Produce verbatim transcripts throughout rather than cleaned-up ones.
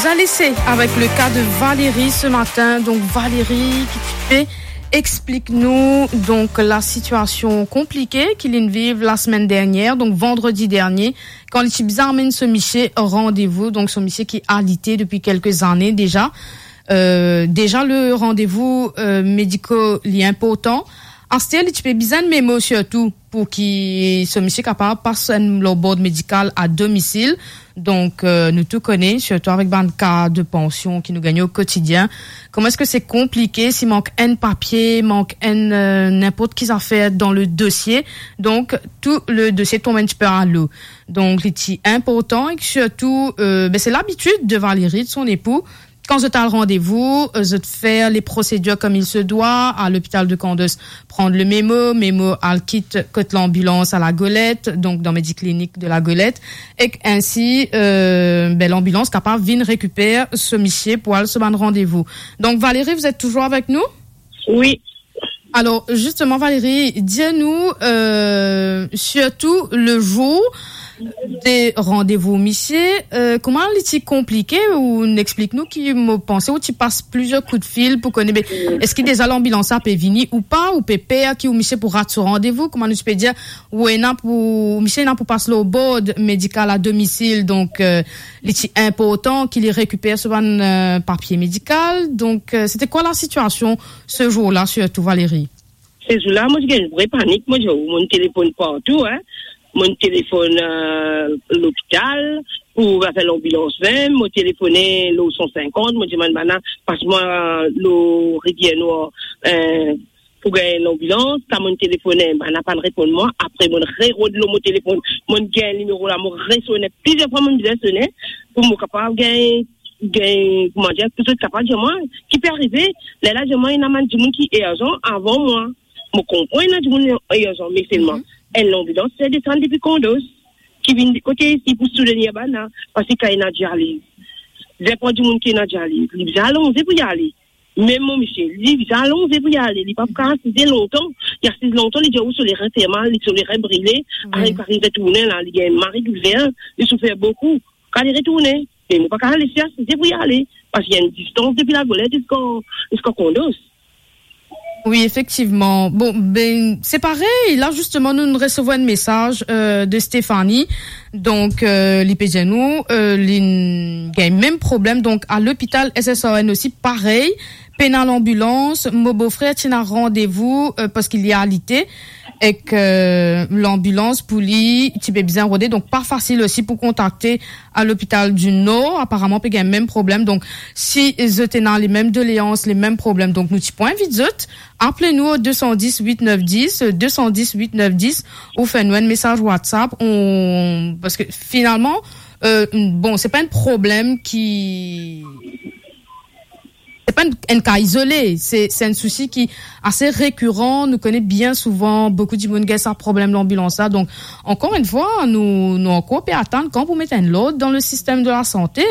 Alese avek le ka de Valérie ce matin. Donk Valérie, ki ti pe explik nou, donk, la sitiasion konplike ki li'nn viv la semenn dernier, donk vandredi dernie, kan li ti bizin amenn so misie randevou, donk so misie ki alite depi kelke zane deza. Euh, deza le randevou, euh, mediko li inportan. Aster li ti pe bizin enn memo sirtou pou ki so misie kapav pas enn lor bord medikal a domisil. Donk, euh, nou tou kone, sirtou avek bann ka de pansion ki nou gagne o kotidien, kouma eski se konplike si mank enn papie, mank enn, euh, ninport ki zafer dan le dosie. Donk, tou le dosie tonm enn tipe alo. Donk, li ti inportan e sirtou, euh, be, se labitid de Valérie, de son epou, kan zot al randevou, euh, zot fer le prosedir comme il se doit, a lopital de Kandos, pran le memo, memo al kit kot lanbilans a Lagolet, donk dan mediklinik de Lagolet, ek ensi, euh, be, lanbilans kapav vinn rekiper so misie pou al so bann randevou. Donk, Valérie, vous êtes toujours avec nous ? Wi. Alor, zisteman, Valérie, dir nou, euh, sirtou le zour de randevou misie, euh, kouma li ti konplike, ou'nn explik nou ki mo panse ou ti pas plizier koudfil pou kone, be, eski deza lanbilans la pe vini ou pa, ou pe per ki ou misie pou rat so randevou, kouma nou ti pe dir, ou ena pou, misie ena pou pas lor bord medikal a domisil, donk, euh, li ti inportan ki li rekiper so bann, euh, papie medikal. Donk, euh, c'était quoi la situation ce jour-là, surtout, Valérie ? Se zour la, mo ti gagn vre panik, mo dir, mo'nn telefonn partou, hein. Mo'nn telefonn, euh, lopital pou fer lanbilans vinn, mo telefone lor san sinkant, mo dimann bann la, pas mwa lor Rivier Nwar, euh, pou gagn lanbilans, kan mo'nn telefone, bann la pa'nn reponn mwa. Apre, mo'nn rerod lor mo telefonn, mo'nn gagn nimero la, mo resone plizier fwa, mo'nn bizin sone pou mo kapav gagn, gagn, kouma dir, pou zot kapav dir mwa ki pe arive. Lerla dir mwa ena bann dimoun ki irzan avan mwa. Mo konpran ena dimoun irzan, me selman, mhm, enn lanbilans fer desann depi Kandos, ki vinn kote isi pou soutenir bann la, parski kan ena dializ, zenpran dimoun ki ena dializ, li bizin alonze pou li ale. Mem mo misie, li bizin alonze pou li ale, li pa pou kapav asize lontan. Li asiz lontan, li dir, "Ou, so lerin fer mal, li so lerin brile." Mhm. Ariv, ariv retourne la, li gagn mari doulver, li soufer boukou. Kan li retourne, me mo pa kapav les li asize pou li ale, parski ena enn distans depi Lagolet ziska, ziska Kandos. Wi, efektivman. Bon, be, se parey. La, zisteman, nou, nou resevwar enn mesaz, euh, de Stéphanie. Donk, euh, li pe dir nou, euh, li gagn mem problem. Donk, a lopital S S R N osi, parey. Pena lanbilans, mo bofrer ti ena randevou, euh, parski li alite, ek, euh, lanbilans pou li ti pe bizin rode, donk pa fasil osi pou kontakte a lopital di Nor, aparaman pe gagn mem problem. Donk, si zot ena lemem doleans, lemem problem, donk nou ti pou invit zot, apel nou o deux cent dix huit neuf dix, deux cent dix huit neuf dix, ou fer nou enn mesaz WhatsApp, on, parski finalman, euh, bon, se pa enn problem ki, se pa enn, enn ka izole, se, se enn sousi ki ase rekiran. Nou kone bien souvan, boukou dimoun gagn sa problem lanbilans la. Donk, ankor enn fwa, nou, nou ankor pe atann kan pou met enn lord dan le sistem de lasante.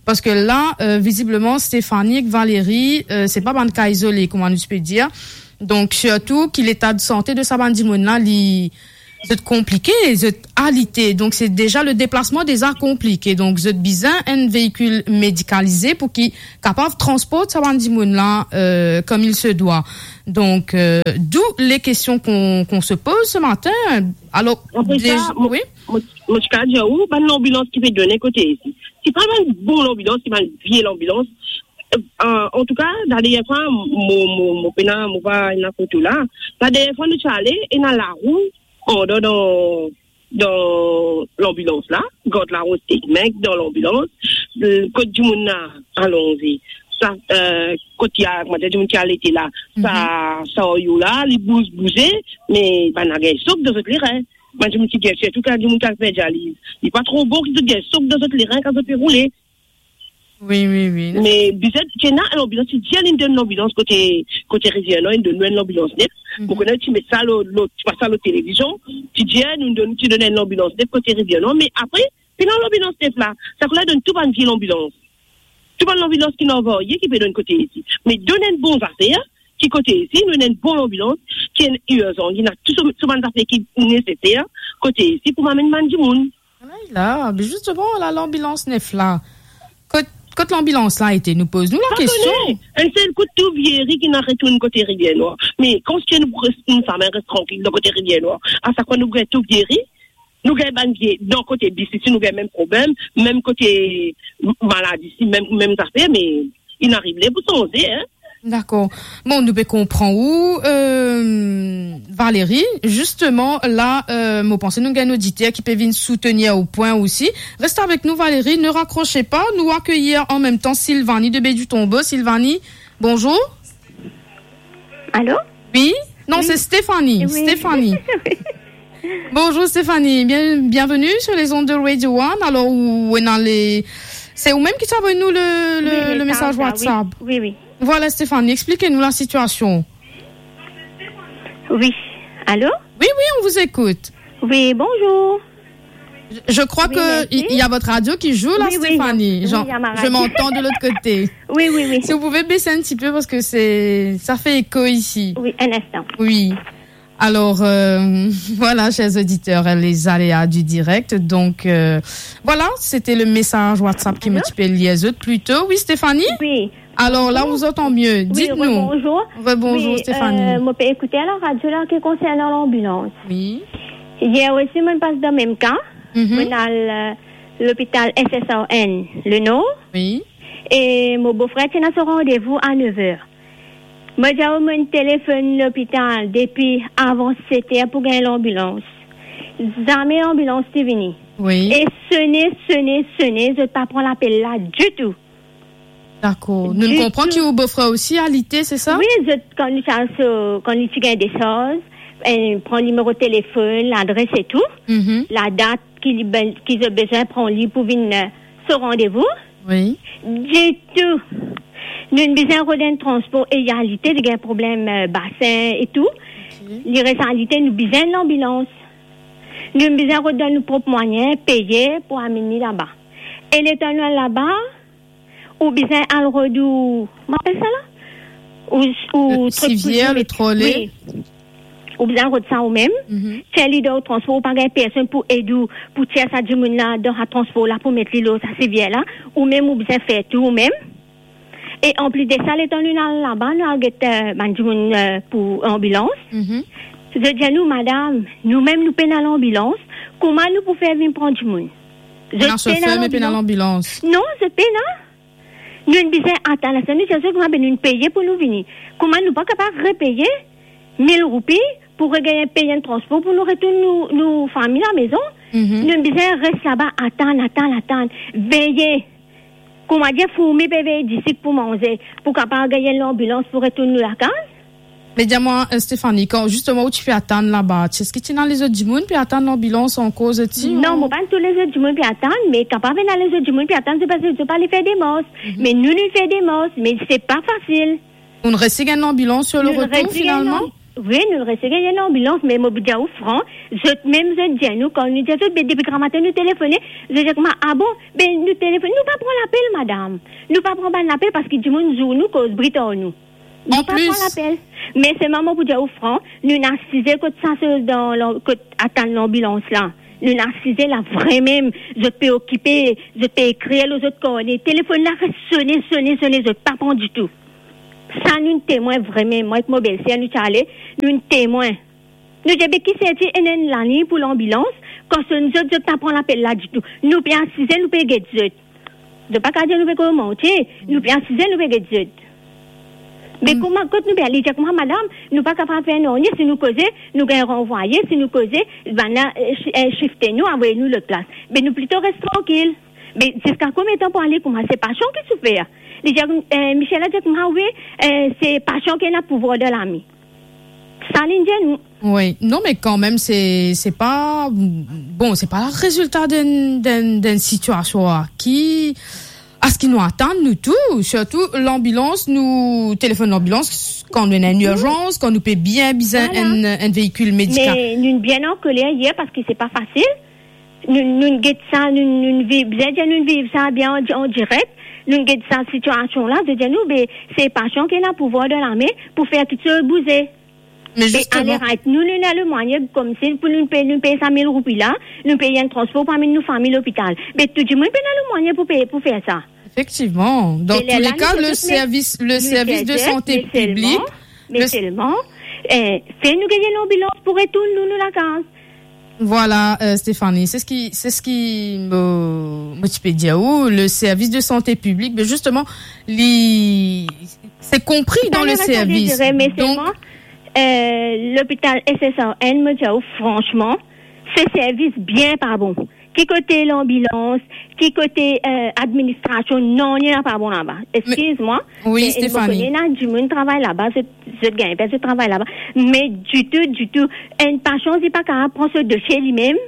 Parski la, euh, vizibleman, Stéphanie ek Valérie, euh, se pa bann ka izole, kouma nou ti pe dir. Donk, sirtou ki leta de sante de sa bann dimoun la, li, zot konplike, zot alite. Donk, se deza, le deplasman deza konplike. Donk, zot bizin enn veikil medikalize pou ki kapav transport sa bann dimoun la, euh, comme il se doit. Donk, euh, d'où les questions qu'on, qu'on se pose ce matin. Alor, apre dez-, sa, mo, wi, mo, mo ti kapav dir ou, bann lanbilans ki pe done kote isi, se pa bann bon lanbilans, se bann vie lanbilans. Euh, an, an tou ka, ladernie fwa, mo, mo, mo pena, mo pa ena foto la. Ladernie fwa nou ti ale, ena larou andan dan, dan lanbilans la, gard larou stek mink dan lanbilans, euh, kot dimoun la alonze. Sa, euh, kot ya, kouma dir, dimoun ki alite la, sa, mhm, sa oyo la, li bouz, bouze, me bann la gagn sok dan zot lerin. Bann dimoun ki gagn, sirtou kan dimoun ki al fer dializ, li pa tro bon ki zot gagn sok dan zot lerin kan zot pe roule. Wi, wi, wi. Me bizin, ti ena lanbilans, ti dir linn donn lanbilans kote, kote Rivier Nwar, linn donn nou enn lanbilans nef. Mhm. Mo kone ti met sa lor, lor, ti pas sa lor televizion, ti dir nou donn, ti donn enn lanbilans nef kote Rivier Nwar, me apre, pena lanbilans nef la, sa kouma donn tou bann vie lanbilans. Tou bann lanbilans ki ena varie ki pe donn kote isi. Me donn enn bon zafer, ki kote isi, nou ena enn bon lanbilans, ki enn irzan, ki ena tou so, so bann zafer ki neseser, kote isi pou amenn bann dimoun. Ala la, be zisteman, la lanbilans nef la. Kot, Kot lanbilans la ete, nou poz nou lakestion. Enn sel kout tou vini, ki nou retourn kote Rivier Nwar. Me kan nou res, nou same res trankil dan kote Rivier Nwar, a sak fwa nou gagn tou vini, nou gagn bann vini dan kote bis isi, nou gagn mem problem, mem kote maladi isi, mem, mem zafer, me inn arive le pou sanze, hein. Dakor. Bon, nou pe konpran ou, euh, Valérie. Justement, la, euh, mo panse nou gagn oditer ki pe vinn soutenir ou pwin osi. Reste avec nous, Valérie, ne raccrochez pas. Nous accueillir en même temps Sylvanie de Baie du Tombeau. Sylvanie, bonjour. Allô ? Oui ? Non, c'est Stéphanie. Oui. Stéphanie. Bonjour Stéphanie, bien, bienvenue sur les ondes de Radio One. Alors, ou, ou ena le, c'est ou-même qui t'as envoyé nous le, le, oui, oui, le message WhatsApp. Oui, oui. Voilà Stéphanie, explique-nous la situation. Oui. Allô ? Oui, oui, on vous écoute. Oui, bonjour. Je, je crois que il, il y a votre radio qui joue là, Stéphanie. Oui, oui, il y a, oui, il y a ma radio. J'entends de l'autre côté. Oui, oui, oui. Si vous pouvez baisser un petit peu parce que c'est, ça fait écho ici. Oui, un instant. Oui. Alors, euh, voilà, chers auditeurs, les aléas du direct. Donc, euh, voilà, c'était le message WhatsApp ki mo ti pe lir zot pli to. Oui, Stéphanie ? Oui. Alors là, on vous entend mieux. Dites-nous. Rebonjour. Rebonjour, Stéphanie. Oui, euh, mo pe ekoute la radio la ki konsernan lanbilans. Oui. Yer osi, mo pas dan mem ka. Mo al, euh, lopital S S R N, le Nord. Oui. E mo bofrer ti ena so randevou a nev er. Mo dir ou, mo telefonn lopital depi avan set er pou gagn lanbilans. Zame lanbilans ti vini. Oui. E sone, sone, sone, zot pa pran lapel la ditou. Dakor. Nou konpran ki ou bofrer osi alite, se sa? Wi, zot, kan nou ti al so, kan li ti gagn desarz, eh, pran nimero telefonn, ladres e tou, mhm, ladat ki li be-, ki zot bizin pran li pou vinn, eh, so randevou. Wi. Ditou. Nou bizin rod enn transpor Eau Égalité, li gagn problem, eh, basin e tou. Ok. Li res alite, nou bizin lanbilans. Nou bizin rod dan nou prop mwayin, peye pou amenn li laba. E letan nou al laba, ou bizin al rod ou, kouma apel sa la? Ou, ou... Le sivier, le trolley. Wi. Ou bizin rod sa ou mem. Mhm. Tir li dan ou transpor, ou pa gagn personn pou ed ou, pou tir sa dimoun la dan sa transpor la, pou met li lor sa sivier la. Ou mem ou bizin fer tou ou mem. E anplis de sa, letan nou al laba, nou al get, eh, bann dimoun, eh, pou lanbilans. Mhm. Zot dir nou, "Madam, nou mem nou pena lanbilans. Kouma nou pou fer vinn pran dimoun?" Zot pena sofer, me pena lanbilans. Non, zot pena. Nou bizin atann, la sa nou dir zot, kouma, be nou peye pou nou vini. Kouma nou pa kapav repeye mil roupi pou regagn peye enn transpor pou nou retourn nou, nou fami lamezon? Mhm. Nou bizin res laba, atann, atann, atann. Veye. Kouma dir, fourmi pe vey disik pou manze, pou kapav gagn lanbilans pou retourn nou lakaz. Me dir mwa, eh, Stéphanie, kan zisteman ou ti pe atann laba, ti eski ti ena lezot dimoun pe atann lanbilans ankor, zot ti? Non, ou mo pa tou lezot dimoun pe atann, me kapav ena lezot dimoun pe atann, se paski zot pa le fer demars. Mhm. Me nou, nou fer demars, me se pa fasil. Ou'nn resi gagn lanbilans sur le retour, finalman? Wi, nou resi gagn lanbilans, me mo pou dir ou fran, zot mem zot dir nou, kan nou dir zot, be depi gramatin nou telefone, zot dir kouma, "Ah bon, be nou telefone, nou pa pran lapel, madam. Nou pa pran bann lapel paski dimoun zour nou, koz bri ar nou. Nou pa pran lapel." Me selman mo pou dir ou fran, nou inn asize kot sa, se dan lan-, kot atann lanbilans la. Nou inn asize la, vremem, zot pe okipe, zot pe ekrir lor zot karne. Telefonn la res sone, sone, sone, zot pa pran ditou. Sa nou temwin vremem, mwa ek mo belser, nou ti ale, nou temwin. Nou dir, be ki serti enn, enn laliny pou lanbilans, kan sonn zot, zot pa pran lapel la ditou. Nou pe asize, nou pe get zot. Zot pa kapav dir nou pe koz manti, nou pe asize, nou pe get zot. Me kouma, kot nou pe al? Li dir kouma, madam, nou pa kapav fer nanye, si nou koze, nou gagn ranvwaye, si nou koze, bann la, eh, shi-, eh, shifte nou, avoy nou lot plas. Be nou plito res trankil. Me ziska konbien tan pou ale kouma? Se pasion ki soufer. Li dir, eh, Michel la dir kouma, wi, eh, se pasion ki ena pouvwar dan lame. Sa li dir nou. Wi, non, me kanmem, se, se pa, bon, se pa rezilta d'enn, d'enn, d'enn sitiasion ki, aski nou atann nou tou, sirtou lanbilans, nou telefonn lanbilans kan nou ena enn irzans, kan nou pe bien bizin enn, enn veikil medikal. Me nou bien ankoler yer paski se pa fasil. Nou, nou get sa, nou, nou viv, bizin dir nou viv sa bien an, an direk. Nou get sa sitiasion la, zot dir nou, be, se pasion ki ena pouvwar dan lame pou fer kiksoz bouze. Me zisteman, ale rant, nou, nou ena lemwayin koumsi pou nou pey, nou pey sa mil roupi la, nou pey enn transpor pou amenn nou fami lopital. Be tou dimoun pena lemwayin pou pey, pou fer sa. Efektivman. Dan tou le ka, le servis, le servis de sante piblik, me selman, eh, fer nou gagn lanbilans pou retourn nou, nou lakaz. Vwala, eh, Stéphanie, se seki, se seki mo, mo ti pe dir ou, le servis de sante piblik, me zisteman, li, se konpri dan le servis. Me selman, eh, lopital S S R N, mo dir ou, fransman, se servis bien pa bon. Ki kote lanbilans, ki kote, eh, administrasion, nanye pa bon laba. Eskiz mwa, wi, me Stéphanie, mo kone ena dimoun travay laba, zot, zot gagn pe zot travay laba. Me ditou, ditou, enn pasyan, li pa kapav pran so dosie limem,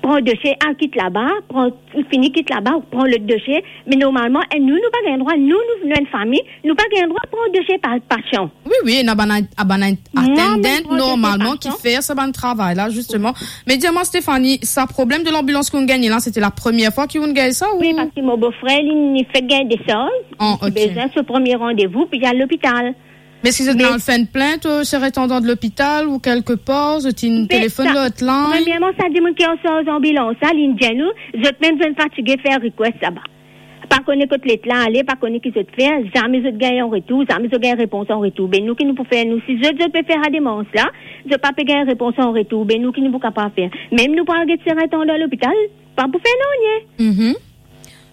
pran dosie, al kit laba, pran, fini kit laba, pran lot dosie. Me normalman, eh, nou, nou pa gagn drwa, nou, nou, nou enn fami, nou pa gagn drwa pran dosie pa, pasyan. Wi, wi, ena bann, bann attendant normalman ki fer sa bann travay la, zisteman. Me dir mwa, Stéphanie, sa problem de lanbilans ki ou'nn gagne la, sete la premie fwa ki ou'nn gagn sa, ou? Wi, parski mo bofrer, li, li fek gagn desarz, li ti bizin so premie randevou pou li al lopital. Me si zot inn al fer enn plint, eh, sirintandan de lopital ou kelke par, zot inn telefonn lor hotline? Premierman, sa dimoun ki ansarz lanbilans la, li dir nou, zot mem zot fatige fer request laba. Pa kone kot let la ale, pa kone ki zot fer, zame zot gagn an retour, zame zot gagn repons an retour. Be nou ki nou pou fer, nou, si zot, zot pe fer sa demars la, zot pa pe gagn repons an retour, be nou ki nou pou kapav fer? Mem nou pou al get sirintandan lopital, pa pou fer nanye. Mhm.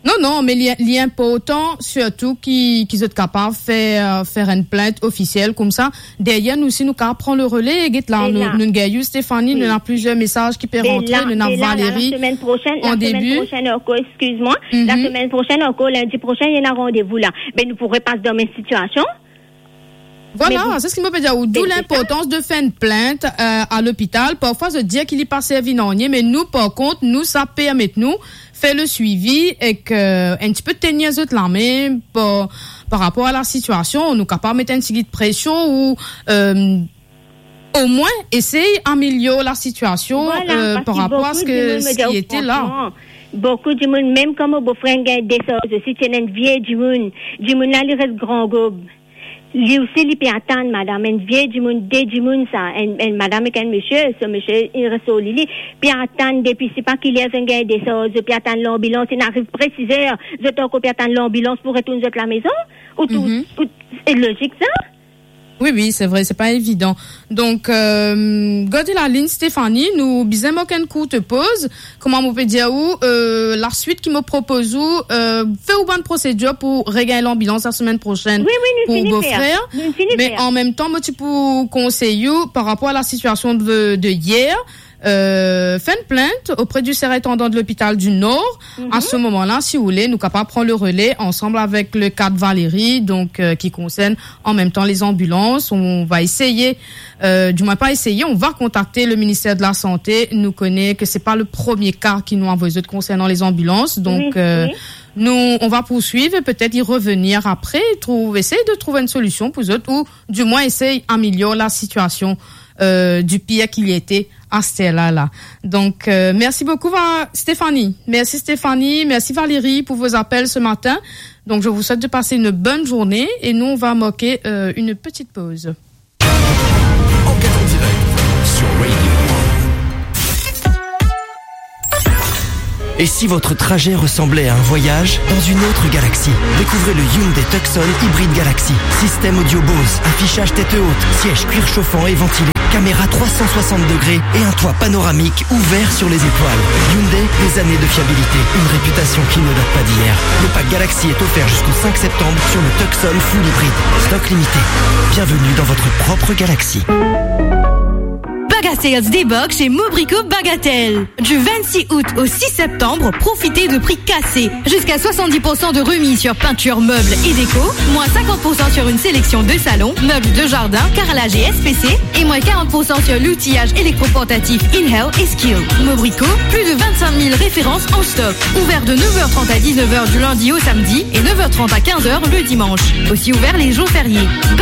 Non, non, me li, li inportan sirtou ki, ki zot kapav fer, fer enn plint ofisiel koumsa. Deryer nou osi, nou kapav pran le rele, get la, nou, nou gagn ou, Stéphanie, nou ena plizier mesaz ki pe rantre, nou ena Valérie, la, la, la semenn prosenn, la semenn prosenn ankor, eskiz mwa, la semenn prosenn ankor, lindi prosenn, ena randevou la. Be nou pou repas dan mem sitiasion. Vwala, se seki mo pe dir ou, dou linportans de fer enn plint, eh, a lopital. Parfwa zot dir ki li pa servi nanye, me nou, par kont, nou, sa permet nou fer le swivi ek, eh, enn tipe tenir zot lame par, par rapor a la sitiasion. Nou kapav met enn tigit presion ou, eh, omwin esey amelior la sitiasion, eh, par rapor a seki ete la. Vwala, parski boukou dimoun, mo dir ou, fransman, boukou dimoun, mem kan mo bofrer gagn desarz osi, ti ena enn vie dimoun. Dimoun la, li res Gran Gob. Li osi, li pe atann, madam, enn vie dimoun, de dimoun sa, enn, enn madam ek enn misie, so misie, li res lor li, li pe atann depi sipa ki ler zot gagn desarz, zot pe atann lanbilans, inn ariv pre siz er, zot ankor pe atann lanbilans pou retourn zot lamezon, ou tou, ou, se lozik sa? Wi, wi, se vre, se pa evidan. Donk, eh, gard lalign, Stéphanie, nou bizin mark enn kourt poz. Kouma mo pe dir ou, eh, laswit ki mo propoz ou, eh, fer ou bann prosedir pou regagn lanbilans lasemenn prosenn pou ou bofrer. Wi, wi, nou fini fer. Nou fini fer. Me an mem tan, mo ti pou konsey ou par rapor a la sitiasion de, de yer, eh, fer enn plint opre di sirintandan de lopital di Nor. Mhm. A se moman la, si ou le, nou kapav pran le rele ansam avek le kad Valérie, donk, eh, ki konsern an mem tan lezanbilans. On va eseye, eh, dimwin pa eseye, on va kontakte le minister de la Sante. Nou kone ke se pa le premie ka ki nou avoy zot konsernan lezanbilans. Donk, wi, eh, wi, nou, on va poursuivre, petet y revenir apre, trouv, esey de trouv enn solision pou zot, ou dimwin esey amelior la sitiasion, eh, di pir ki li ete aster la, la. Donk, eh, mersi boukou, Va-, Stéphanie. Mersi Stéphanie, mersi Valérie pou vo apel se matin. Donc, je vous souhaite de passer une bonne journée et nous, on va marquer, euh, une petite pause. Enquête en direct sur Radio One. Et si votre trajet ressemblait à un voyage dans une autre galaxie ? Découvrez le Hyundai Tucson Hybride Galaxy. Système audio Bose, affichage tête haute, siège cuir chauffant et ventilé, caméra trois cent soixante degrés et un toit panoramique ouvert sur les étoiles. Hyundai, des années de fiabilité, une réputation qui ne date pas d'hier. Le pack Galaxy est offert jusqu'au cinq septembre sur le Tucson Full Hybrid. Stock limité. Bienvenue dans votre propre galaxie. Bagatelles débarquent chez Mobrico Bagatelle. Du vingt-six août au six septembre, profitez de prix cassés. Jusqu'à soixante-dix pour cent de remise sur peinture, meubles et déco, moins cinquante pour cent sur une sélection de salon, meubles de jardin, carrelage et S P C, et moins quarante pour cent sur l'outillage électroportatif InHell et Skill. Mobrico, plus de vingt-cinq mille références en stock. Ouvert de neuf heures trente à dix-neuf heures du lundi au samedi et neuf heures trente à quinze heures le dimanche. Aussi ouvert les jours fériés.